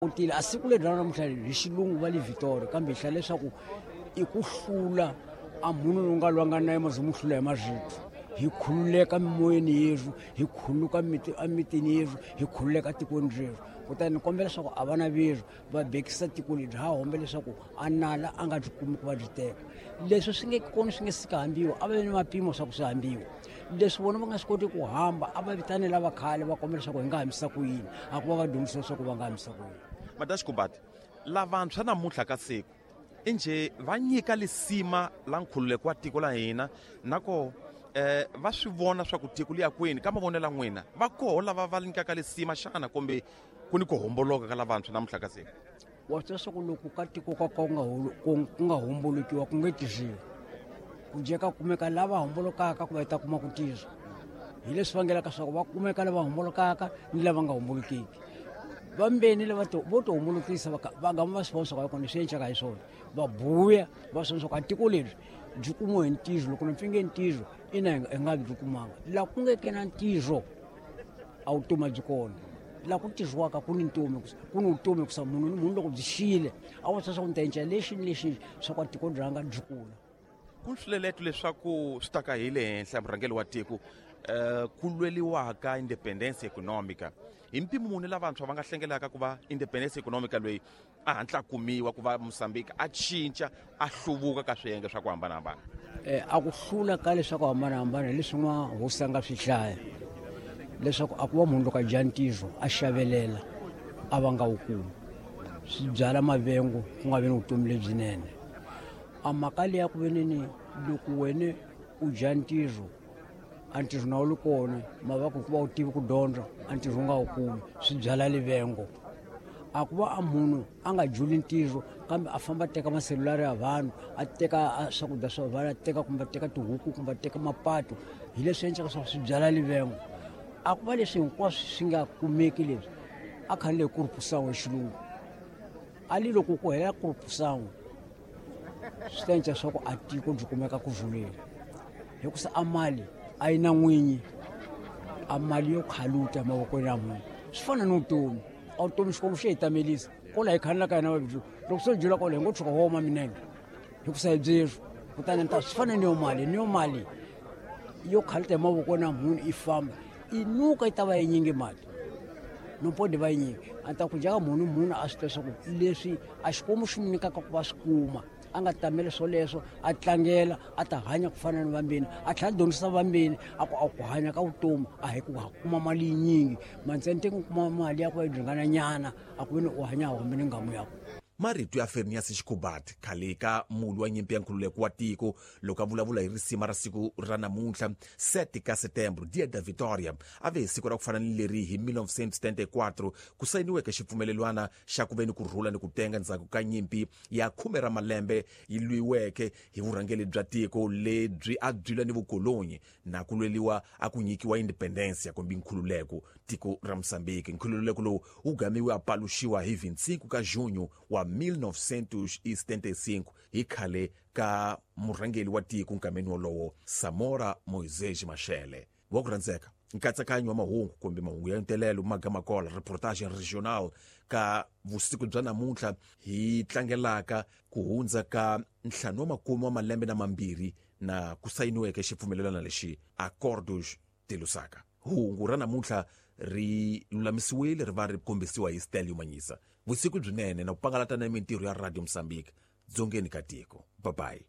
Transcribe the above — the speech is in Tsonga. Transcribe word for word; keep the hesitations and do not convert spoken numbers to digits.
Kutile a siku leri ra namuntlha hi xilungu va le Victoria, kambe hi hlaya leswaku i ku hlula a munhu lowu nga lwanga na yena mu hlula hi marito. Hi khululeka mimoyeni yerhu, hi khuluka emitini yerhu, hi khululeka tikweni rerhu. Kutani ni kombela leswaku a vana verhu va bekisa tiko leri, ha hombe leswaku a nala a nga byi kumi ku va byi teka. Leswi swi nge kona swi nge sika hambiwa, a va vi ni mapimo swa ku swi hambiwa. Leswi vona va nga swi koti ku hamba, a va vitane lava khale va kombela leswaku hi nga hambisa ku yini, a ku va va dyondzisa leswaku va nga hambisa ku yini. Madaxikubati, lavantshwa namuntlha ka siku injhe va nyika lisima la nkhululeko wa tiko la hina, nako eh va swi vona swa ku tiko liya kwini ka mavonelo ya n'wina, va koho lava va nyikaka lisima xana kumbe ku ni ku homboloka ka lavantshwa namuntlha ka siku? Wa swi tiva swa ku loko ka tiko ka ka ku nga ku nga hombolokiwa ku nge tirhiwi, ku jeka kumeka lava hombolokaka ku va ta kuma ku tirha. Hi leswi vangelaka swa ku va kumeka lava hombolokaka ni lava nga hombolokiki. Vambeni lava to vo to hombolokisa va va gama va swi vona swa ku a kona leswi endlaka hi swona, va buya va swi vona swa ku a tiko leri byi kumiwe hi ntirho. Loko ni pfinge ntirho ina hi nga byi kumanga. Laha ku nge ke na ntirho a vutomi a byi kona. Laha ku tirhiwaka ku ni ntomi, ku ni vutomi ku munhu ni munhu loko byi xile a vo swa ku ni ta endla lexi ni lexi swa ku a tiko ranga byi kula. Ku swileletlo leswaku swi ta ka hi le henhla murhangeri wa tiko eh ku lweliwaka independence economica, hi mpimo muni lavantshwa va nga hlengelaka ku va independence economica loyi a hatla kumiwa ku va Mozambique a cinca a hluvuka ka swiyenge swa ku hambanahambana? Eh a ku hlula ka leswaku hambanahambana leswi n'wa hosi a nga swi hlaya, leswaku a ku va munhu loko a dya ntirho a xavelela a va nga wu kumi, swi byala mavengo ku nga vi ni vutomi lebyinene. A mhaka leyi ya ku veneni loko wena u dya ntirho a ntirho na wu li kona, mavako hikuva u tivi ku dyondza a ntirho u nga wu kumi, swi byala livengo. A ku va a munhu a nga juli ntirho kambe a famba a teka maselulari ya vanhu, a teka swakudya swa vanhu, a teka kumbe a teka tihuku kumbe a teka mapatu, hi leswi endlaka leswaku swi byala livengo. A ku va leswi hinkwaswo swi nga kumeki leswi a khale hi kurupusan'we xilungu a li loko ku hela kurupusan'we swi ta endla swa ku a tiko byi kumeka ku rhuleni, hikusa a mali a yi na n'winyi, a mali yo khaluta mavokweni ya munhu. Swi fana ni vutomi, a vutomi Xikwembu xi hi tamelisa kwala hi khanelaka hina vabyi, loko se byela kwala hi ngo tshuka wo oma minenge hikusa hi byeswo. Kutani ni ta swi fana ni yo mali, ni yo mali yo khaluta hi mavokweni ya munhu i famba i nuka yi ta va yi nyingi mali no podi va yi nyingi. A ta ku jaka munhu munhu a swi tiva swa ku leswi a Xikwembu xi n'wi nyikaka ku va swi kuma, a nga tameli swoleswo, a tlangela, a ta hanya ku fana ni vambeni, a tlhela a dyondzisa vambeni a ku a ku hanya ka vutomi a hi ku kuma mali yinyingi, mantsente ku kuma mali ya ku va yi ringana nyana a ku veni u hanya hambi ni ngamu ya ku. Marito ya Fernias Xikubati khale ka mulwi wa nyimpi ya nkhululeko wa tiko loko a vulavula hi risima ra siku ra namuntlha sete ka Setembro, Dia da Vitória, a ve hi siku ra ku fana ni leri hi mil novecentos e setenta e quatro ku sayiniweke xipfumelelwana xa ku ve ni ku rhula ni ku tenga ndzhaku ka nyimpi ya khume ra malembe yi lwiweke hi vurhangeri bya tiko lebyi a byi lwa ni vukolonyi na ku lweliwa a ku nyikiwa independence kumbe nkhululeko tiko ra Mozambique. Nkhululeko lowu wu gamiwe a paluxiwa hi vinte e cinco ka junho wa mil novecentos e setenta e cinco hi khale ka murhangeri wa tiko nkameni wolowo Samora Moisés Machel. Wa ku rhandzeka nkatsakanyo wa mahungu kumbe mahungu ya ntelelo magamakola reportage regional ka vusiku bya namuntlha hi tlangelaka ku hundza ka ntlhanu wa makume wa malembe na mambirhi na ku sayiniweke xipfumelelano lexi Acordos de Lusaka. Hungu ra namuntlha ri lulamisiwile ri va ri kombisiwa hi Stelio Manyisa. Vusiku byinene na ku pangalata na mintirho ya Radio Mozambique dzongeni ka tiko. Bye bye.